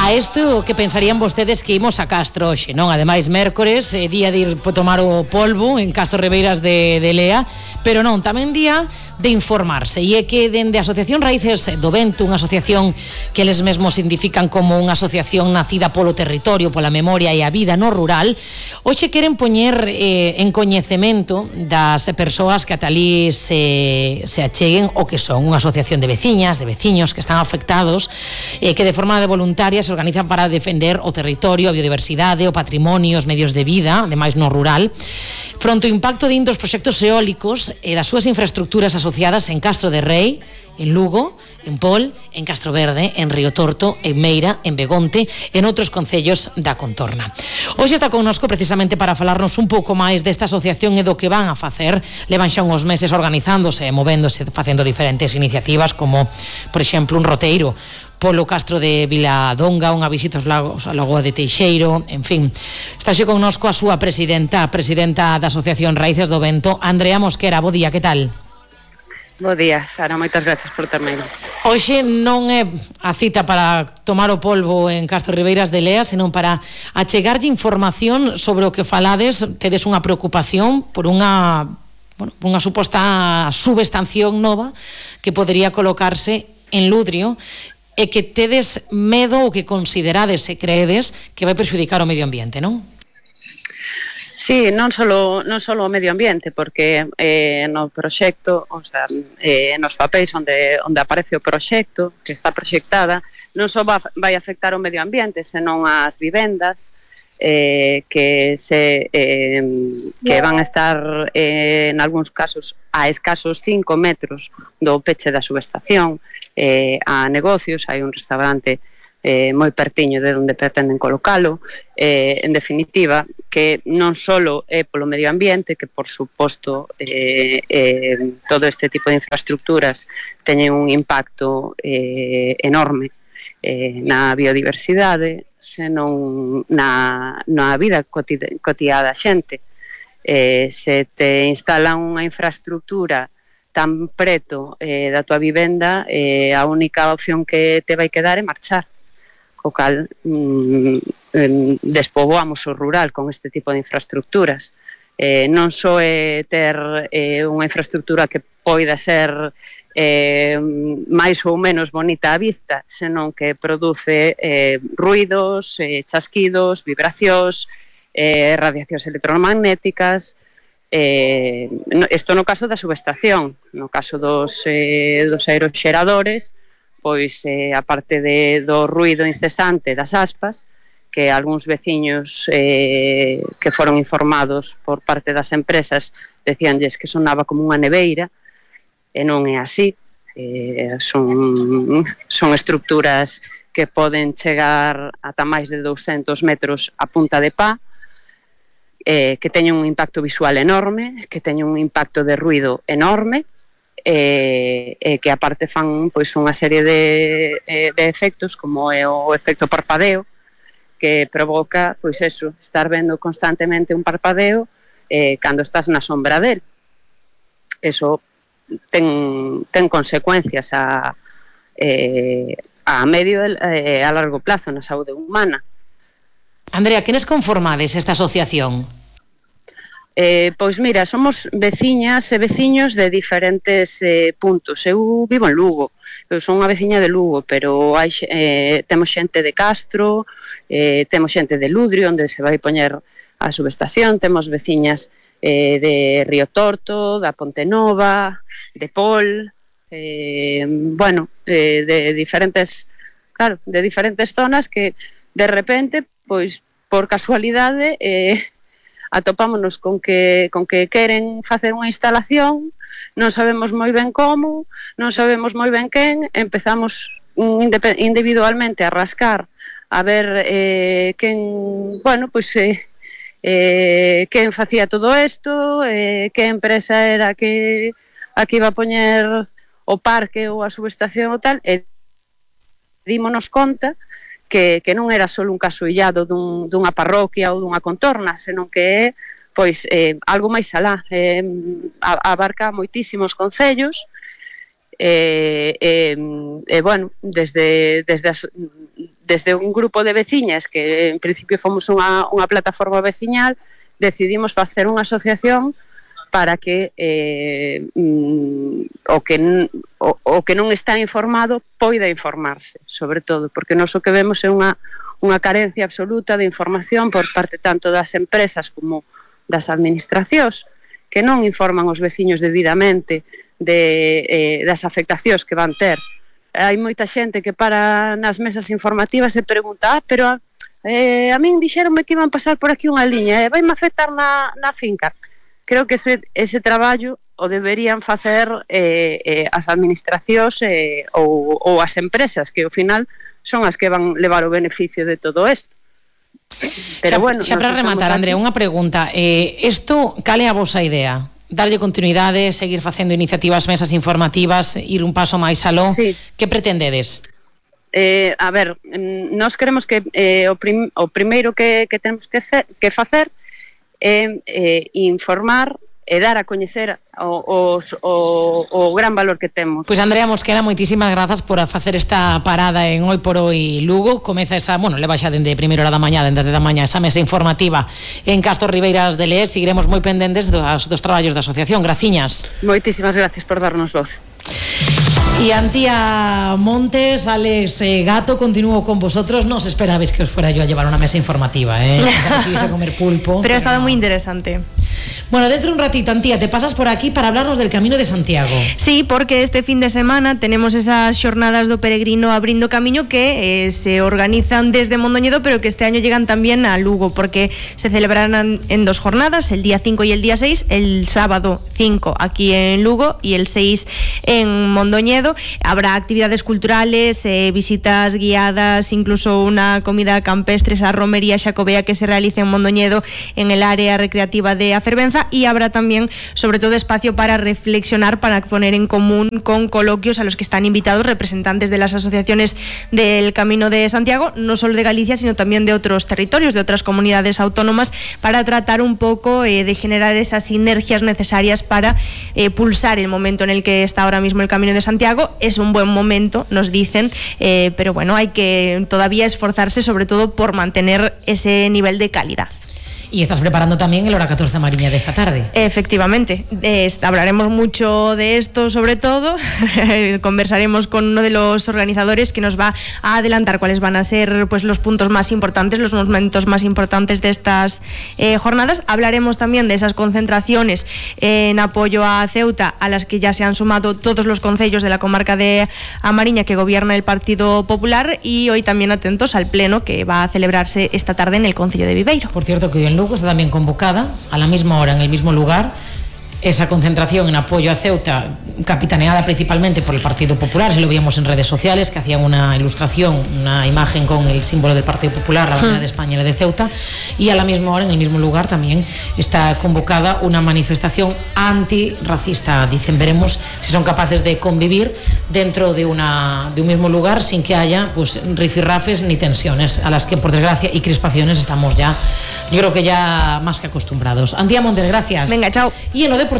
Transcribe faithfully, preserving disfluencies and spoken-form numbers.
A isto que pensarían vostedes que imos a Castro hoxe, non? Ademais, mércores, eh, día de ir po tomar o polvo en Castro Ribeiras de, de Lea, pero non, tamén día de informarse. E é que dende a Asociación Raíces do Vento, unha asociación que eles mesmos identifican como unha asociación nacida polo territorio, pola memoria e a vida no rural, hoxe queren poñer eh, en coñecemento das persoas que ata ali se, se acheguen o que son unha asociación de veciñas, de veciños que están afectados, eh, que de forma de voluntaria se organizan para defender o territorio, a biodiversidade, o patrimonio, os medios de vida, ademais no rural, fronte ao impacto de indos proxectos eólicos e das súas infraestructuras asociadas en Castro de Rei, en Lugo, en Pol, en Castro Verde, en Río Torto, en Meira, en Begonte e en outros concellos da contorna. Hoxe está connosco precisamente para falarnos un pouco máis desta asociación e do que van a facer. Levan xa uns meses organizándose e movéndose, facendo diferentes iniciativas como, por exemplo, un roteiro polo Castro de Viladonga, unha visita aos lagos, a Lagoa de Teixeiro, en fin. Está xe connosco a súa presidenta, a presidenta da Asociación Raíces do Vento, Andrea Mosquera. Bo día, que tal? Bo día, Sara, moitas gracias por terme. Hoxe non é a cita para tomar o polvo en Castro Ribeiras de Lea, senón para achegarlle información sobre o que falades. Tedes unha preocupación por unha, bueno, unha suposta subestación nova que podería colocarse en Ludrio, e que tedes medo ou que considerades e creedes que vai perxudicar o medio ambiente, non? Sí, non solo non solo o medio ambiente, porque eh, no proxecto, o sea, eh, nos papéis onde onde aparece o proxecto, que está proxectada, non só va, vai afectar o medio ambiente, senón as vivendas, eh, que se eh, que van a estar eh, en algúns casos a escasos cinco metros do peche da subestación, eh, a negocios, hai un restaurante eh, moi pertiño de onde pretenden colocalo, eh, en definitiva, que non só é polo medio ambiente, que por suposto eh, eh, todo este tipo de infraestructuras teñen un impacto eh, enorme eh, na biodiversidade, senón na, na vida cotidiana da xente. Eh, se te instalan unha infraestructura tan preto eh, da tua vivenda, eh, a única opción que te vai quedar é marchar. Co cal, mm, despoboamos o rural con este tipo de infraestructuras. Eh, non só é ter eh, unha infraestructura que poida ser eh, máis ou menos bonita á vista, senón que produce eh, ruidos, eh, chasquidos, vibracións, eh, radiacións electromagnéticas. Eh, isto no caso da subestación. No caso dos, eh, dos aeroxeradores, pois eh, a parte de, do ruido incesante das aspas, que algúns veciños eh, que foron informados por parte das empresas decíanlles que sonaba como unha neveira, e non é así. Eh, son, son estructuras que poden chegar ata máis de douscentos metros a punta de pá, eh, que teñen un impacto visual enorme, que teñen un impacto de ruido enorme, e eh, eh, que aparte fan pois unha serie de, eh, de efectos, como é o efecto parpadeo, que provoca, pois eso, estar vendo constantemente un parpadeo eh, cando estás na sombra del. Eso ten, ten consecuencias a, eh, a medio e eh, a largo plazo na saúde humana. Andrea, quenes conformades esta asociación? Eh, pois mira, somos veciñas e veciños de diferentes eh, puntos. Eu vivo en Lugo, eu son unha veciña de Lugo, pero hai, eh, temos xente de Castro, eh, temos xente de Ludrio, onde se vai poñer a subestación, temos veciñas eh, de Río Torto, da Ponte Nova, de Pol, eh, bueno, eh, de diferentes, claro, de diferentes zonas que de repente, pois, por casualidade, eh, atopámonos con que, con que queren facer unha instalación, non sabemos moi ben como, non sabemos moi ben quen, empezamos individualmente a rascar, a ver eh, quen, bueno, pois, eh, eh, quen facía todo isto, eh, que empresa era que a que iba a poñer o parque ou a subestación ou tal, e dímonos conta Que, que non era só un caso illado dun, dunha parroquia ou dunha contorna, senón que é pois, eh, algo máis alá, eh, abarca moitísimos concellos, e, eh, eh, eh, bueno, desde, desde, as, desde un grupo de veciñas que en principio fomos unha, unha plataforma veciñal, decidimos facer unha asociación para que eh, mm, o que o, o que non está informado poida informarse, sobre todo, porque nós o que vemos é unha, unha carencia absoluta de información por parte tanto das empresas como das administracións, que non informan os veciños debidamente de, eh, das afectacións que van ter. Hai moita xente que para nas mesas informativas e pregunta, ah, pero eh, a min dixeronme que iban pasar por aquí unha liña, e eh, vai me afectar na, na finca. Creo que ese, ese traballo o deberían facer eh, eh, as administracións eh, ou, ou as empresas, que ao final son as que van levar o beneficio de todo isto. Pero xa, bueno, xa para rematar, Andrea, unha pregunta. Eh, isto, cal é a vosa idea? Darlle continuidade, seguir facendo iniciativas, mesas informativas, ir un paso máis aló? Sí. Que pretendedes? Eh, a ver, nós queremos que eh, o, prim, o primeiro que, que temos que, ser, que facer é eh, informar e dar a coñecer o, os, o, o gran valor que temos. Pois Andrea Mosquera, moitísimas grazas por facer esta parada en Hoy por Hoy Lugo. Comeza esa, bueno, leva xa dende primeira hora da mañá, dende da mañá, esa mesa informativa en Castro Ribeiras de Leer. Seguiremos moi pendentes dos, dos traballos da asociación. Graciñas. Moitísimas gracias por darnos voz. Y Antía Montes, Alex eh, Gato, continúo con vosotros. No os esperabais que os fuera yo a llevar una mesa informativa, ¿eh? A comer pulpo. Pero, pero ha estado no. muy interesante. Bueno, dentro de un ratito, Antía, te pasas por aquí para hablarnos del Camino de Santiago. Sí, porque este fin de semana tenemos esas xornadas do peregrino abrindo camiño que eh, se organizan desde Mondoñedo, pero que este año llegan también a Lugo, porque se celebrarán en dos jornadas, el día cinco y el día seis, el sábado cinco aquí en Lugo y el seis en Mondoñedo. Habrá actividades culturales, eh, visitas guiadas, incluso una comida campestre, esa romería xacobea que se realiza en Mondoñedo en el área recreativa de Afervenza, y habrá también, sobre todo, espacio para reflexionar, para poner en común con coloquios a los que están invitados representantes de las asociaciones del Camino de Santiago, no solo de Galicia, sino también de otros territorios, de otras comunidades autónomas, para tratar un poco eh, de generar esas sinergias necesarias para eh, pulsar el momento en el que está ahora mismo el Camino de Santiago. Es un buen momento, nos dicen, eh, pero bueno, hay que todavía esforzarse, sobre todo por mantener ese nivel de calidad. Y estás preparando también el Hora catorce Mariña de esta tarde. Efectivamente, eh, hablaremos mucho de esto, sobre todo. Conversaremos con uno de los organizadores que nos va a adelantar cuáles van a ser, pues, los puntos más importantes, los momentos más importantes de estas eh, jornadas. Hablaremos también de esas concentraciones eh, en apoyo a Ceuta, a las que ya se han sumado todos los concellos de la comarca de A Mariña que gobierna el Partido Popular, y hoy también atentos al pleno que va a celebrarse esta tarde en el concello de Viveiro. Por cierto, que hoy en Lugo está también convocada a la misma hora, en el mismo lugar, esa concentración en apoyo a Ceuta, capitaneada principalmente por el Partido Popular. Si lo veíamos en redes sociales, que hacían una ilustración, una imagen con el símbolo del Partido Popular, la bandera de España y la de Ceuta, y a la misma hora, en el mismo lugar, también está convocada una manifestación antirracista. Dicen, veremos si son capaces de convivir dentro de, una, de un mismo lugar sin que haya, pues, rifirrafes ni tensiones, a las que, por desgracia, y crispaciones estamos ya, yo creo que ya más que acostumbrados. Antía Montes, gracias. Venga, chao. Y en lo deportivo...